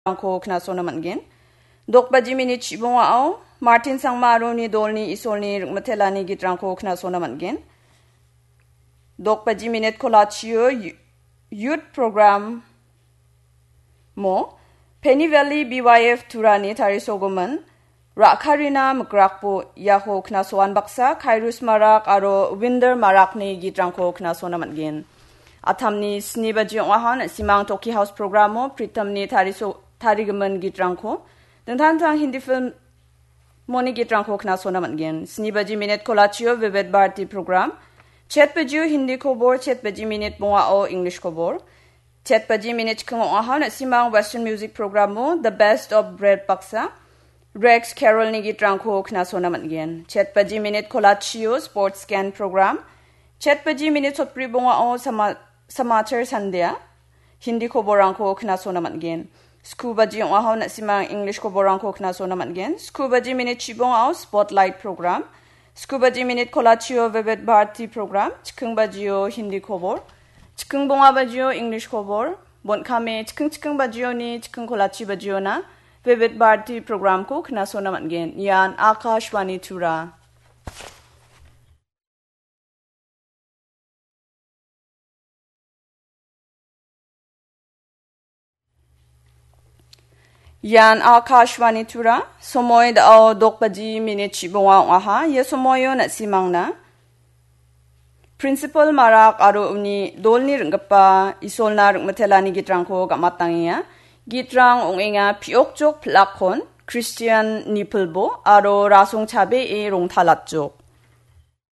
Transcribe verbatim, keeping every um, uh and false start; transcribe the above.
gitrangko knasona man·gen. Dok baji minit chibongao Martin Sangma aro uni dolni Isolni ringmitelani gitrangko knasona man·gen. Dok baji minit kolachio yu-, youth program mo Penny Valley B Y F Turani tarisogimin Ra·karina Mikrakbo iako knasoan baksa Khairus Marak aro Winder Marakni gitrangko knasona man·gen. Atamni sni baji ong·aha, na·simang Toki House programo Pritamni tariso-, tarigimin gitrangko, dingtang dingtang Hindi film moni gitrangko knasona man·gen. Sni baji minit kolachio Vivid Bharati program, chet bajio Hindi kobor, chet baji minit bongao English kobor. Chet baji minit chikking ong·aha, na·simang Western music programo The Best of Bread baksa Rex Carrollni gitrangko knasona man·gen. Chet baji minit kolachio Sports Scan program. Chet baji minit sotbri bongao Sama-, Samachar Sandhya Hindi koborrangko knasona man·gen. Sku baji ong·aha, na·simang English koborrangko knasona man·gen. Sku baji minit chibongao Spotlight program. Sku baji minit kolachio Vivid Bharati program, chikking bajio Hindi kobor, chikking bonga bajio English kobor, bon·kame chikking chikking bajioni chikking kolachi bajiona Vivid Bharati programko knasona man·gen. Ian Akashvani Tura. Ian Akashvani Tura, somoi da·o dok baji minit chibonga ong·aha. Ia somoio na·simangna Principal Marak aro uni dolni ring·gipa Isolna ring·mitelani gitrangko gam·atangenga. Gitrang ong·enga Piokjok Pilakkon, Christian Nipilbo aro Rasong Chabee Rongtalatjok.